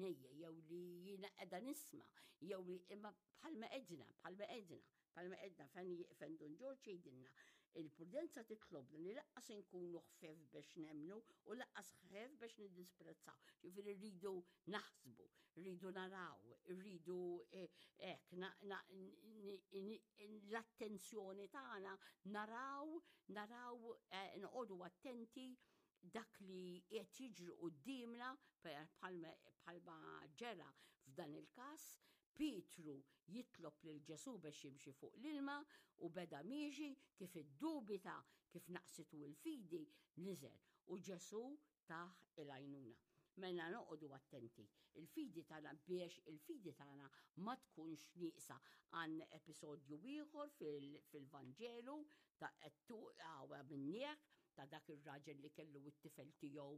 għajnejja jew li jiena qiegħda nisma' jew li imma bħalma għedna, bħalma għedna, bħalma għedna fejn Dun Ġorġ jgħidilna il-prudenza titlobna li lanqas inkunu ħfief biex nemmnu u lanqas ħfief biex niddisprezzaw. Ġifieri rridu naħsbu, rridu naraw, rridu eh, hekk l-attenzjoni tagħna naraw, naraw eh, noqogħdu attenti dak li qed jiġri quddiemna bħalma ġera f'dan il-każ, Pietru jitlob lil Ġesù biex jimxi fuq l-ilma u beda miexi kif iddubita kif naqsitu l-fidi niżel u Ġesù tah il-għajnuna. Mela noqogħdu attenti. Il-fidi tagħna biex il-fidi tagħna ma tkunx nieqsa. Għandna episodju ieħor fil-Vanġelu ta' minnieħ ta' dak ir-raġel li kellu t-tifel tiegħu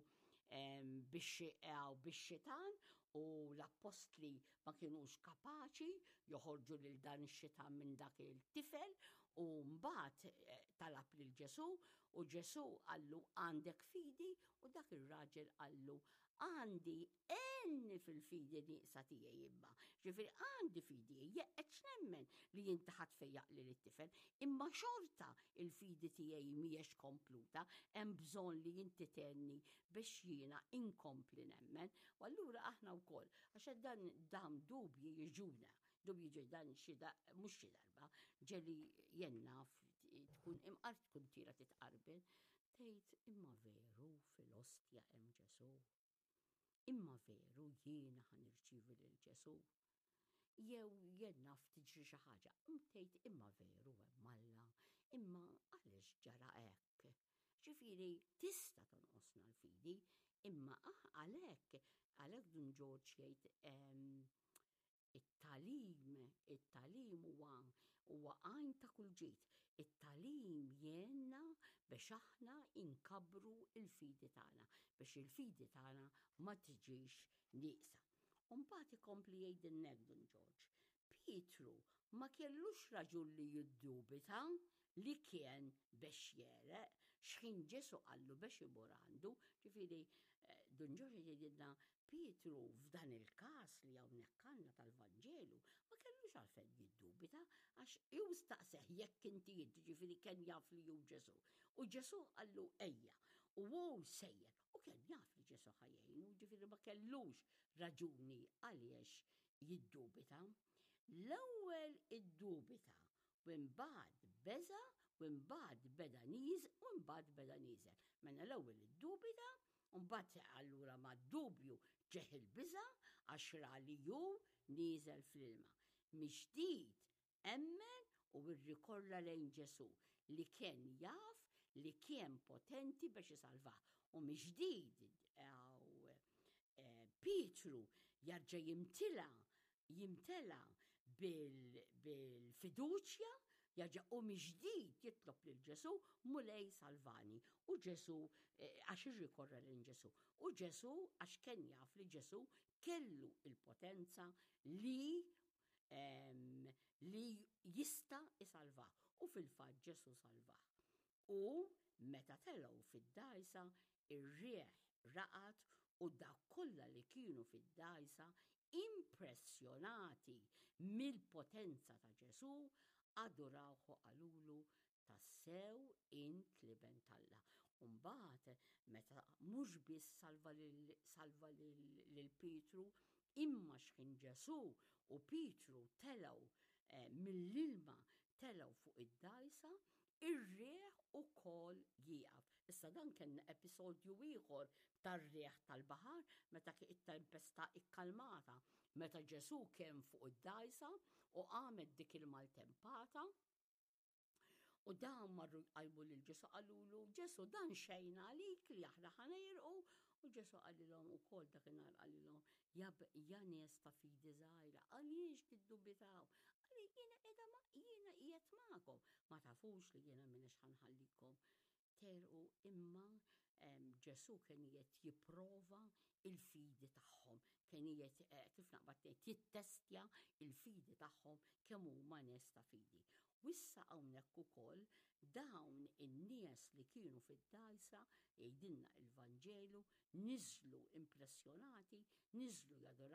bix-xitan u l-appostli ma kienux kapaċi joħorġu lil dan ix-xitan minn dak il-tifel u mbagħad eh, talab lil Ġesù u Ġesù qallu għandek fidi u dak ir-raġel qallu għandi għenni fil-fidi nieqsa tiegħi imma. Ġifieri għandi fidi, qed nemmen li inti ħa tfejjaq lil it-tifel, imma xorta il-fidi tiegħi mhijiex kompluta, hemm bżonn li inti tgħinni biex jiena inkompli nemmen. U allura aħna wkoll, għax dan dan dubji jiġuna, dubji ġej dan xi mhux xi darba, ġeli jenna tkun imqar tkun tira titqarben, tgħid imma veru fil-ostja hemm Ġesù. Imma veru jiena ħa nirċievi lil Ġesù. Jew jien naf tiġri xi ħaġa, tgħid imma veru hemm Alla, imma għaliex ġara hekk? Ġifieri tista' tonqosna l-fidi, imma ah, għalhekk għalhekk Dun Ġorġ jgħid it-tagħlim, it-tagħlim huwa huwa għajn ta' kull ġid. It-tagħlim jgħinna biex aħna inkabbru il-fidi tagħna, biex il-fidi tagħna ma tiġix nieqsa. U mbagħad ikompli jgħidilna hekk Dun Ġorġ. Pietru ma kellux raġun li jiddubita li kien biex jegħreq x'ħin Ġesù qallu biex imur għandu. Ġifieri eh, Dun Ġorġ jgħidilna Pietru f'dan il-każ li hawnhekk għandna tal-Vanġelu ma kellux għalfejn jiddubita għax hu staqseh jekk inti int, ġifieri kien jaf li hu Ġesù. U Ġesù qallu ejja u hu sejjer u kien jaf li Ġesù ħa jgħinu, ġifieri ma kellux raġuni għaliex jiddubita. L-ewwel iddubita u mbagħad beża' u mbagħad beda niż u mbagħad beda nieżel. Mela l-ewwel iddubita u mbagħad allura mad-dubju ġeh il-biża' għax ra li hu nieżel fl-ilma. Mill-ġdid emmen u rrikorra lejn Ġesù li kien jaf li kien potenti biex isalvah. U mill-ġdid eh, Pietru jarġa' jimtila jimtela bil-fiduċja jarġa' u mill-ġdid jitlob lil Ġesù Mulej salvani. U Ġesù eh, għax irrikorra lejn Ġesù. U Ġesù għax kien jaf li Ġesù kellu il-potenza li li jista' isalvah. U fil-fatt Ġesù salvah. U meta telgħu fid-dgħajsa, ir-riħ raqad u dawk kollha li kienu fid-dgħajsa impressjonati mill-potenza ta' Ġesù adurawh u qalulu tassew int l-Iben t'Alla. U mbagħad meta mhux biss salva lil salva lil Pietru, imma x'ħin Ġesù u Pietru telgħu eh, mill-ilma telgħu fuq id-dgħajsa, ir-riħ ukoll jieqaf. Issa dan kien episodju ieħor tar-riħ tal-baħar meta it-tempesta ikkalmata, meta Ġesù kien fuq id-dgħajsa u qamet dik il-maltempata. U dawn marru jqajmu lil Ġesù qalulu, Ġesù dan xejn għalik li aħna ħa negħrqu. U Ġesù qalilhom ukoll dakinhar qalilhom, ja, ja nies ta' fidi żgħira, għaliex tiddubitaw? Għalli jiena qiegħda ma jiena qiegħed magħkom. Ma tafux li jiena m'iniex ħa nħallikom tegħrqu imma Ġesù kien qiegħed jipprova il-fidi tagħhom, kien qiegħed eh, kif naqbad ngħid jittestja il-fidi tagħhom kemm huma nies ta' fidi. U issa hawnhekk ukoll dawn in-nies li kienu fid-dgħajsa jgħidilna il-Vanġelu niżlu impressjonati, niżlu jadoraw.